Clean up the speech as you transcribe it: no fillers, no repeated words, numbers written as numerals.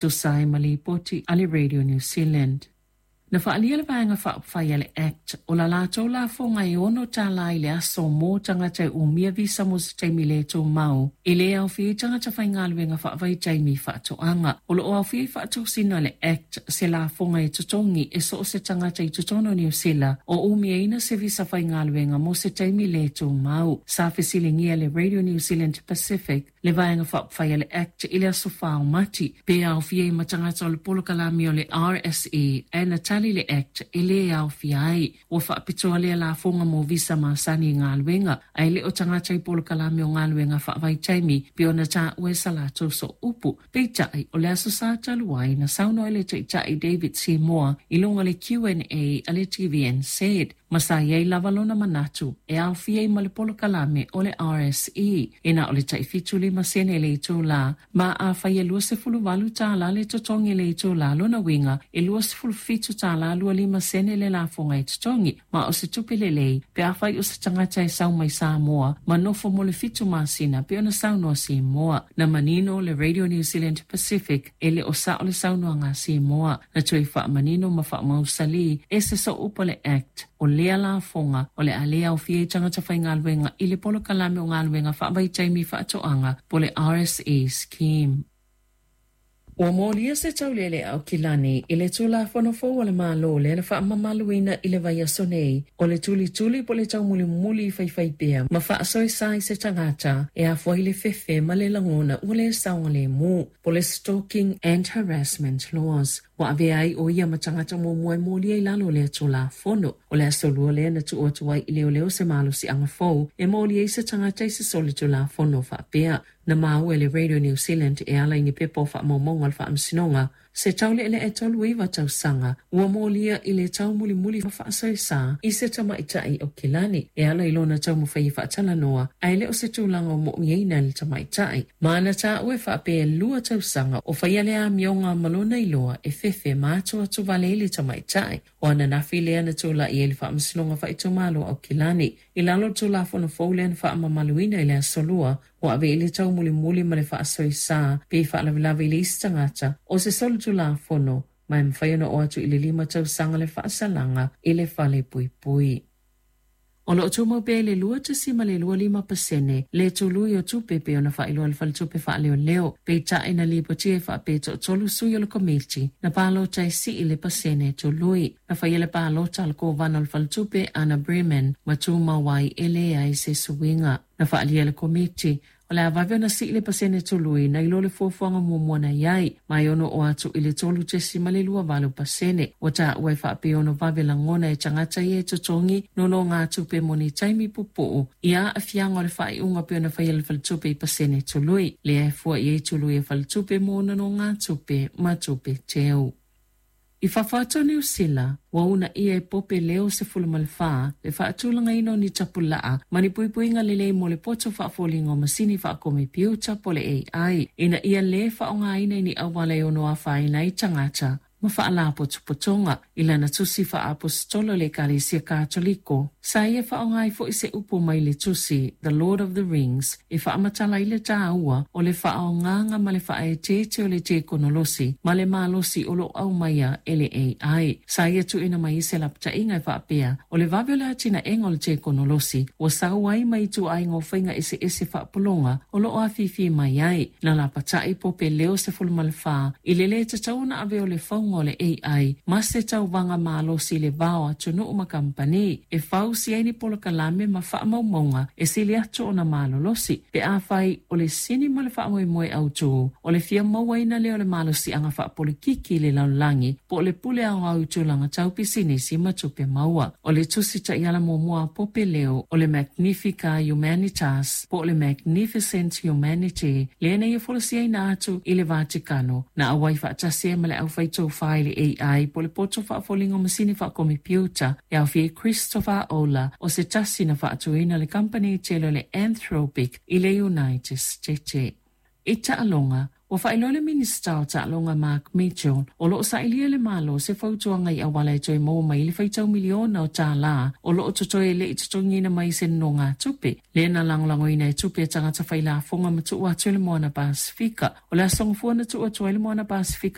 Tusa ai ma lipoti a le Radio New Zealand. Na faaalia le Vaega Faaupufai a le act, o la latou lafoga e $6 i le aso mo tagata e umia visa mo se taimi le tumau, e le aofia ai tagata faigaluega faavaitaimi i faatoaga. O lo o aofia i faatosina a le Act se lafoga e totogi e so o se tagata i totonu o Niu Sila o umiaina se visa faigaluega mo se taimi le tumau. Sa fesiligia e le Radio New Zealand Pacific le Vaega Faaupufai a le Act i le aso 4 o Mati, pe aofia ai ma tagata o le polokalame o le RSE, ae na tali le Act e le aofia ai. Ua faapitoa lea lafoga mo visa masani i galuega, ae le o tagata i polokalame o galuega faavaitaimi pei ona taua e sa latou sooupu. Peitai, o le Aso Sa talu ai, na saunoa ai le Taitai David Seymour i luga o le QNA a le TVNZ, ma sa i ai lava lona manatu e aofia ai ma le polokalame o le RSE e na o le tai 75 sene le itulā, ma afai e $28 le totogi i le itulā, lona uiga e $27.25 sene le lafoga e totogi, ma o se tupe lelei pe afai o se tagata e sau mai Samoa ma nofo mo le 7 masina pei ona saunoa Seymour. Na manino le Radio New Zealand Pacific e le o sao le saunoaga a Seymour. Na toe faamanino ma faamausalī e se sooupu a le Act o lea lafoga o le a le aofia ai tagata faigaluega i le polokalame o galuega faavaitaimi faatoaga po o le RSE Scheme. Ua molia se taulealea Aukilani i le Tulafono fou a le Malo lea na faamamaluina i le vaiaso nei, o le tulituli po o le taumulimuli i faifaipea ma faasoesa i se tagata e afua ai le fefe ma le lagona ua le saogalemu, po o le Stalking and Harassment Laws. Ua avea ai ʻo ia ma tagata muamua e molia i lalo o lea Tulafono. O le aso Lua lea na tuu atu ai i leoleo se malosiaga fou e molia ai se tagata i se solitulafono faapea. Na maua e le Radio New Zealand e ala i ni pepa o faamaumauga a le Faamasinoga se taule'ele'e 39 tausaga ua molia i le taumulimuli ma faasoesa i se tamaitai o Kilani e ala i lona taumafai e faatalanoa ae le o se tulaga o mo'omiaina e le tamaitai. Ma na taua e faapea e 2 tausaga o faia le amioga ma lona iloa e fefe ma atuatuvale ai le tamaitai. O ananafi lea na tulai ai le Faamasinoga Faaitumalo o Aukilani i lalo o le Tulafono fou lea na faamamaluina i le Aso Lua, ua ave i le taumulimuli ma le faasoesa pe faalavelave i le isi tagata o se solitulafono ma e mafai ona oo atu i le 5 tausaga le faasalaga i le fale puipui. O lo o tumau pea i le 2.25 pasene le tului o tupe pei ona faailoa e le Faletupe Faaleoleo, peitai na lipotia e faapea e toatolu sui o le Komiti na palota e sii le pasene tului. Na faia le palota a le Kovana o le Faletupe Anna Breman ma tumau ai e leai se suiga. Na faaalia e le Komiti O le a vave ona sii le pasene tului nai lo le fuafuaga muamua na i ai, ma e ono oo atu i le 3.28 pasene. Ua taua e faapea ono vave lagona e tagata ia e totogi nonogatupe mo ni taimi pupuu i aafiaga o le faaiuga pei ona faia e le faletupe i pasene tului, lea e fua i ai tului a faletupe mo nonogatupe ma tupe teu. I fafo atu o Niu Sila, ua uunaia e Pope Leo 14 le faatulagaina o ni tapulaa ma ni puipuiga lelei mo le poto faafoliga o masini faakomepiuta po o le AI ina ia lē faaaogaina i ni auala e ono afaina ai tagata ma faalapotopotoga. I lana tusi faaaposetolo i le Ekalesia Katoliko, sa ia faaaoga ai foi se upu mai le tusi The Lord of the Rings e faamatala ai le tāua o le faaaogaga ma le faaeteete o le tekonolosi ma le malosi o lo o aumaia e le AI. Sa ia tuuina mai ai se lapataiga e faapea, o le vave o le atinaega o le tekonolosi ua sau ai mai ituaiga o faiga eseese faapologa o lo o afifi mai ai. Na lapatai Pope Leo 14 i le lē tatau ona ave o le fauga o le AI ma se tauvaga malosi i le va o atunuu ma kamupani e fausia ai ni polokalame ma faamaumauga e sili atu ona malolosi pe afai o le sini ma le faamoemoe autū o le fia mauaina lea o le malosiaga faapolikiki i le lalolagi po o le pule aoao i tulaga tau pisinisi ma tupe maua. O le tusi taiala muamua a Pope Leo o le Magnifica Humanitas po o le Magnificent Humanity lea na ia folasiaina atu i le Vatikano na auai faatasi ai ma le aufaitofā i le AI po o le poto faafoliga o masini faakomepiuta e aofia ai Christopher Ola o se tasi na faatuina le kamupani tele o le Anthropic i le United States. I taaloga, Ua faailoa le Minisita o Taaloga Mark Mitchell, o lo o sailia e le Malo se fautuaga i auala e toe maua mai ai le faitau miliona o tālā o lo o totoe e le i totogiina mai i se nonogatupe, lea na lagolagoina e tupe a tagata failafoga ma tuu atu e le Moana Pasefika. O le Aso Gafua na tuu atu ai le Moana Pasefika.